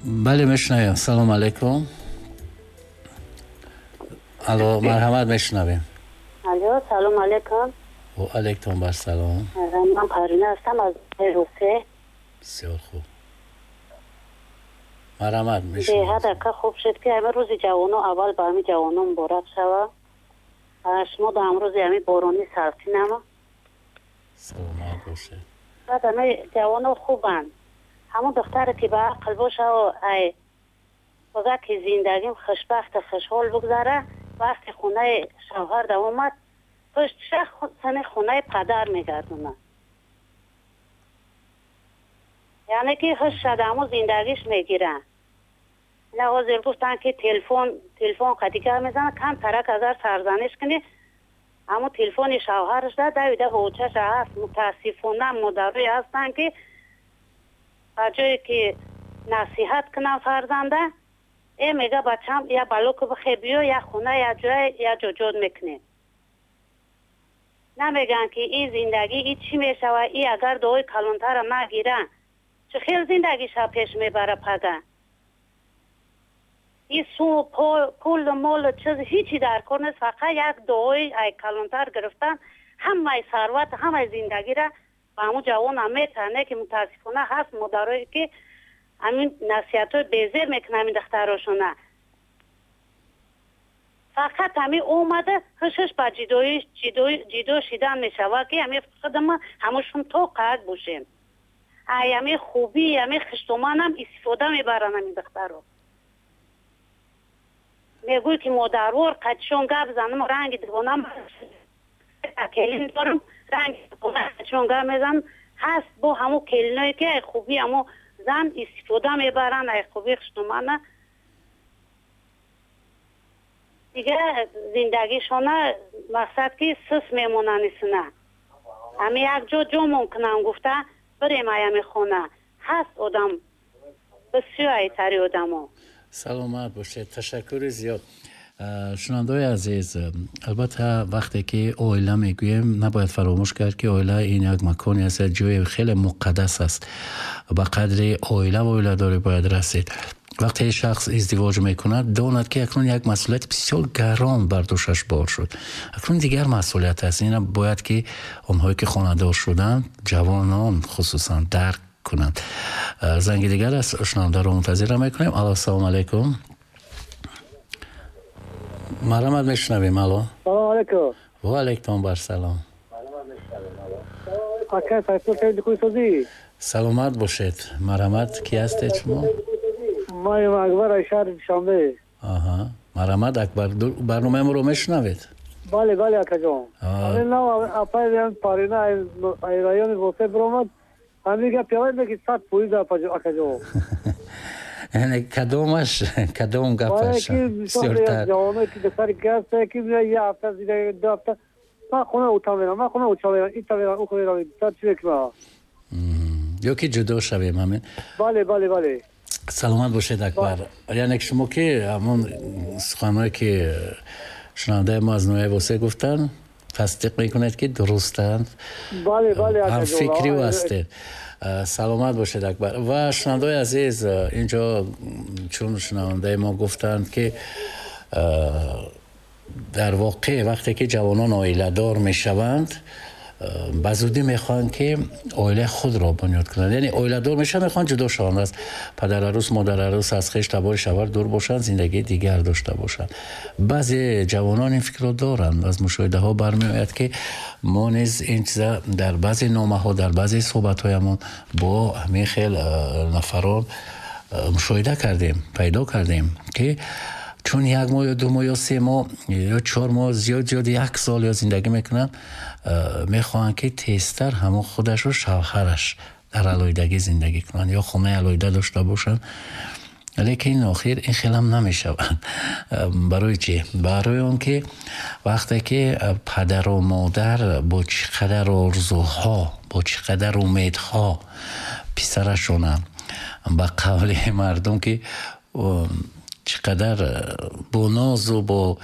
Бале, мешунавем. Салом алейкум. Алло, марҳамат, мешунавем. Алло, салом алейкум. Ва алейкум ассалом. Ман Парвина ҳастам аз Русия. Бисёр хуб. Марҳамат, мешунавем. Беҳад ака хуб шуд ки ҳамин рӯзи ҷавоно аввал ба ҳамин ҷавоно муборак шава. Шумо дар ҳамрӯзи ҳамин борони салқинама. Саломат бошед. Баъд ҳамин ҷавоно хубанд. Ҳамон духтаре ки ба ақл боша ай бага ки зиндагим хушбахту хушҳол бигзара, вақти хонаи шавҳар да омад, пуштша сани хонаи падар мегардонад. Яъне ки ҳушша да ҳамон зиндагиш мегиранд. Ина ҳозир гуфтанд ки телефон қадига мезанад, кам тарак агар сарзаниш кунӣ, ҳамон телефони шавҳараш да давида ҳоҷаша ҳаст. Мутаассифона модарое ҳастанд ки ба ҷое ки насиҳат кунам фарзанда, мега бачам я балоку бихе биё, я хона, я ҷой, я ҷоҷот мекунем. Намегӯянд ки ин зиндагӣ и чӣ мешавад, и агар дуои калонтара нагиранд, чӣ хел зиндагиша пеш мебара пага. И су пул, мол, чиз ҳичи дар кор нест, фақат як дуои ай калонтар гирифтан ҳамаи сарват, ҳамаи зиндагира ба ҳамун ҷавонам метаҳанд, ки мутаассифона ҳаст модарое ки ҳамин насиҳатҳои безер мекунанд ҳамин духтарошона. Фақат ҳамин омада ҳушаш ба ҷидо шидан мешавад ки ҳамин худама ҳамашон то қад бошем. Ай ҳамин хубӣ, ҳамин хиштоманам истифода мебаранд ҳамин духтаро. Мегӯй ки модарвор қадшон гап занам, ранги дивонам келин дорам, ранги қадшон гап мезанам. Ҳаст бо ҳамон келиное ки ай хубӣ ҳамон зан истифода мебаранд, ай хубии хиштомана. Дигар зиндагишона мақсад ки сус мемонанд исна. Ҳамин як ҷо ҷомон кунам гуфта бирем ай ҳамин хона. Ҳаст одам, бисёр айтари одамо. Саломат бошед, ташаккури зиёд. Шунавандаҳои азиз, албатта вақте ки оила мегӯем, набояд фаромӯш кард ки оила ин як маконе аст, як ҷои хеле муқаддас аст. Ба қадри оила ва оиладорӣ бояд расид. Вақте шахс издивоҷ мекунад, донад ки акнун як масъулияти бисёр гарон бар дӯшаш бор шуд. Акнун дигар масъулият аст. Ина бояд ки онҳое ки хонадор шуданд, ҷавонон хусусан дарк кунанд. Занги дигар аст, шунавандаро мунтазира мекунем. Алло, ассалому алайкум. Марҳамат, мешунавем. Алло. Салому алайкум. Ва алайкум ассалом. Ака, Сайфулло Карим Куйсозӣ. Саломат бошед. Марҳамат, ки ҳастед шумо? Ман Акбар аз шаҳри Душанбе. Аҳа. Марҳамат, Акбар, барномаи моро мешунавед? Бале, бале, акаҷон. Ҳамин нав апай Парина ай райони Восе биромад. Ҳамин гап явай ки 100% акаҷон. Яъне кадомаш, кадом гапаш бисёртар? Ҷавоное ки духтари ки ҳаста, ки як ҳафта зиндагӣ, 2 ҳафта ман хона ута мерам, ман хона уча мерам, ита мерам, ухо мерам, чӣ мекунам? Ё ки ҷудо шавем ҳамин? Бале, бале, бале. Саломат бошед, Акбар. Яъне шумо ки ҳамон суханҳое ки шунавандаи мо аз ноҳияи Восе гуфтанд, тасдиқ мекунед ки дурустанд? Бале, бале, ҳамфикри ӯ ҳастед. Саломат бошед, Акбар. Ва шунавандаҳои азиз, инҷо чун шунавандаи мо гуфтанд ки дар воқеъ вақте ки ҷавонон оиладор мешаванд, ба зудӣ мехоҳанд ки оилаи худро бунёд кунанд. Яъне оиладор мешаванд, мехоҳанд ҷудо шаванд аз падарарӯс, модарарӯс, аз хеш табори шавҳар дур бошанд, зиндагии дигар дошта бошанд. Баъзе ҷавонон ин фикрро доранд. Аз мушоҳидаҳо бармеояд ки мо низ ин чиза дар баъзе номаҳо, дар баъзе суҳбатҳоямон бо ҳамин хел нафарон мушоҳида кардем, пайдо кардем ки чун як моҳ ё 2 моҳ ё 3 моҳ ё 4 моҳ, зиёд зиёд 1 сол ё зиндагӣ мекунанд, мехоҳанд ки тезтар ҳамон худашу шавҳараш дар алоҳидагӣ зиндагӣ кунанд ё хонаи алоҳида дошта бошанд. Лекин охир ин хелам намешавад. Барои чӣ? Барои он ки вақте ки падару модар бо чӣ қадар орзуҳо, бо чӣ қадар умедҳо писарашона, ба қавли мардум ки чӣ қадар бо нозу бо